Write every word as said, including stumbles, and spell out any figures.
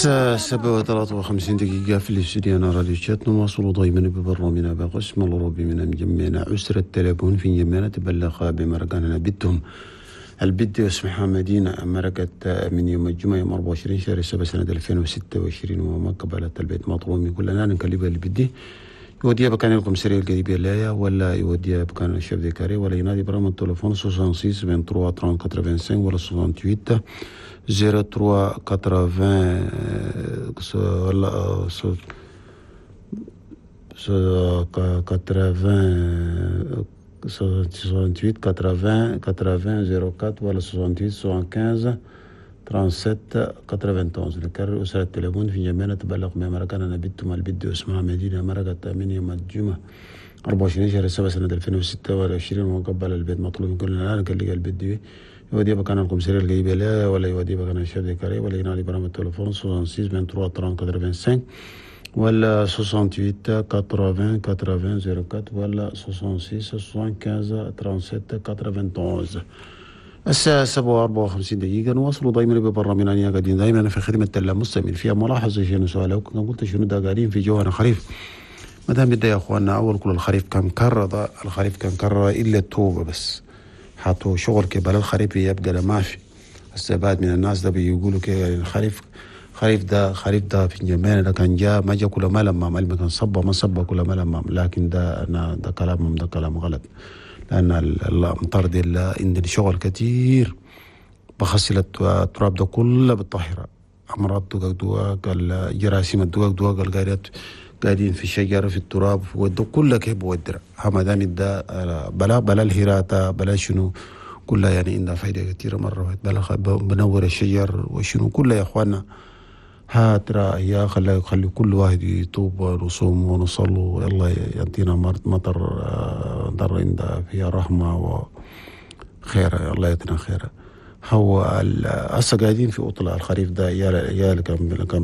الساعة سبعة وثلاثة وخمسين دقيقة في الاستوديو راديو تشات. نواصل دائما ببرنامجنا بقسم الأوروبي من مجمعنا أسرة تليفون في جمعنا تبلغ بمرقاننا بنتهم البد اسمها مدينة مرقت من يوم الجمعة يوم أربعة وعشرين شهر سبعة سنة ألفين وستة وعشرين وما قبلت البيت مطلوب من كلنا نكلمها البدي يوديها بكان الكومسارية القريبة لها ولا يوديها بكان ال chef de carré ولا ينادي برقم التليفون ستة وستين ثلاثة وعشرين ثلاثة وخمسين ولا ثمانية وستين صفر ثلاثة ثمانين ولا ثمانين ثمانية وستين ثمانين ثمانين صفر أربعة ولا ثمانية وستين خمسة وسبعين سبعة وثلاثين واحد وتسعين. نكرر، أسرة التليفون في جميعنا تبلغ بمركنا بنتهم البد اسمها مدينة مرقت من يوم الجمعة أربعة وعشرين شهر سبعة سنة ألفين وستة وعشرين وقبل البيت مطلوب من كلنا الآن قال البيت يودي بكان الكومسارية القريبة لا ولا يودي بكان ال chef de carré ولا ينادي برقم التليفون ستة وستين ثلاثة وعشرين ثلاثين خمسة وثمانين ولا ثمانية وستين ثمانين ثمانين صفر أربعة ولا ستة وستين خمسة وسبعين سبعة وثلاثين واحد وتسعين. الساعة سبعة وأربعة وخمسين دقيقة. نواصل دائما ببرنامجنا، قاعدين دائما في خدمة المستمعين. فيها ملاحظة شنو سؤال قلت شنو ده؟ قاعدين في جوانا خريف ما دام بدأ يا اخواننا. اول كل الخريف كان كرر، الخريف كان كرر الا التوبة بس حطوا شغل كبل الخريف يبقى ما في. السبات من الناس ده بيقولوا كده الخريف خريف ده خريف ده في جمعنا ده كان جاء ما جاء كل ما لما ما كان صبا ما صبا كل ما لما، لكن ده أنا ده كلامهم ده كلام غلط، لأن الأمطار دي عندنا شغل كتير بغسل التراب ده كله بالطاهرة. أمراض دقاق دقاق، الجراثيم الدقاق دقاق القاعدات قاعدين في الشجرة في التراب وده كله كيف بودر ما دام ده بلا بلا الهراتة بلا شنو كلها، يعني عندها فايدة كثيرة مرة، بلا بنور الشجر وشنو كلها يا اخوانا. هاترا يا خلي خلي كل واحد يتوب ونصوم ونصلوا، الله يعطينا مطر مطر عندها فيها رحمة وخير، الله يعطينا خير. هو هسه قاعدين في عطلة الخريف ده يا يا كان كان